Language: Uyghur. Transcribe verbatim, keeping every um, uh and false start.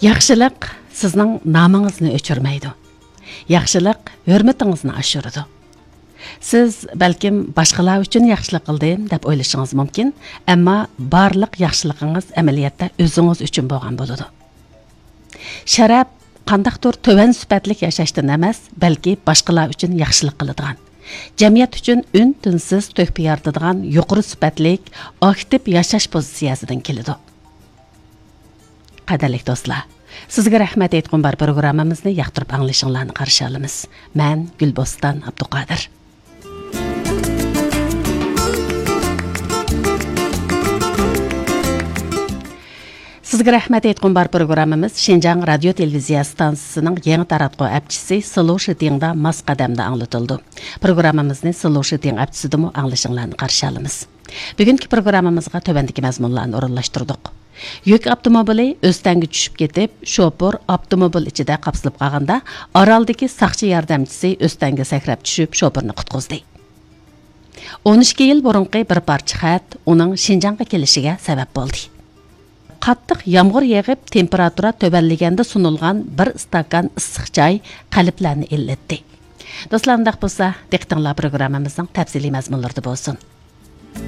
ياخشىلىق سىزنىڭ نامىڭىزنى ئۆچۈرمەيدۇ. ياخشىلىق ھۆرمىتىڭىزنى ئاشۇرىدۇ. سىز بەلكىم باشقىلار ئۈچۈن ياخشىلىق قىلدىم دەپ ئويلىشىڭىز مۇمكىن، ئەمما بارلىق ياخشىلىقىڭىز ئەمەلىيەتتە ئۆزىڭىز ئۈچۈن بولغان بولىدۇ. شەرەپ قانداقتۇر تۆۋەن سۈپەتلىك ياشاشتىن ئەمەس، بەلكى باشقىلار ئۈچۈن ياخشىلىق قىلىدىغان، جەمئىيەت ئۈچۈن ئۈن-تىنسىز تۆھپە يارىتىدىغان يۇقىرى سۈپەتلىك، ئاكتىپ ياشاش پوزىتسىيەسىدىن كېلىدۇ. قەدىرلىك دوستلار، سىزگە رەھمەت ئېيتقۇم بار پروگراممىمىزنى ياقتۇرۇپ ئاڭلىشىڭلارنى قارشى ئالىمىز. مەن گۈلبوستان ئابدۇقادىر. سىزگە رەھمەت ئېيتقۇم بار پروگراممىمىز شىنجاڭ رادىيو تېلېۋىزىيە ستانسىسىنىڭ يېڭى تاراتقۇ ئەپچىسى سلو شىتىڭدا ماس قەدەمدە ئاڭلىتىلىدۇ. پروگراممىمىزنى سلو شىتىڭ ئەپچىسىدىمۇ ئاڭلىشىڭلارنى قارشى ئالىمىز. بۈگۈنكى پروگراممىمىزغا تۆۋەندىكى مەزمۇنلارنى ئورۇنلاشتۇردۇق. يۈك ئاپتوموبىلى ئۆستەڭگە چۈشۈپ كېتىپ، شوپۇر ئاپتوموبىل ئىچىدە قاپسىلىپ قالغاندا، ئارالدىكى ساقچى ياردەمچىسى ئۆستەڭگە سەكرەپ چۈشۈپ، شوپۇرنى قۇتقۇزدى. ئون ئىككى يىل بۇرۇنقى بىر پارچە خەت ئۇنىڭ شىنجاڭغا كېلىشىگە سەۋەب بولدى. قاتتىق يامغۇر يېغىپ، تېمپېراتۇرا تۆۋەنلىگەندە سۇنۇلغان بىر ئىستاكان ئىسسىق چاي قەلبلەرنى ئىللىتتى. دوستلار، ئۇنداق بولسا، دىققىتىڭلار پروگراممىمىزنىڭ تەپسىلىي مەزمۇنلىرىدا بولسۇن.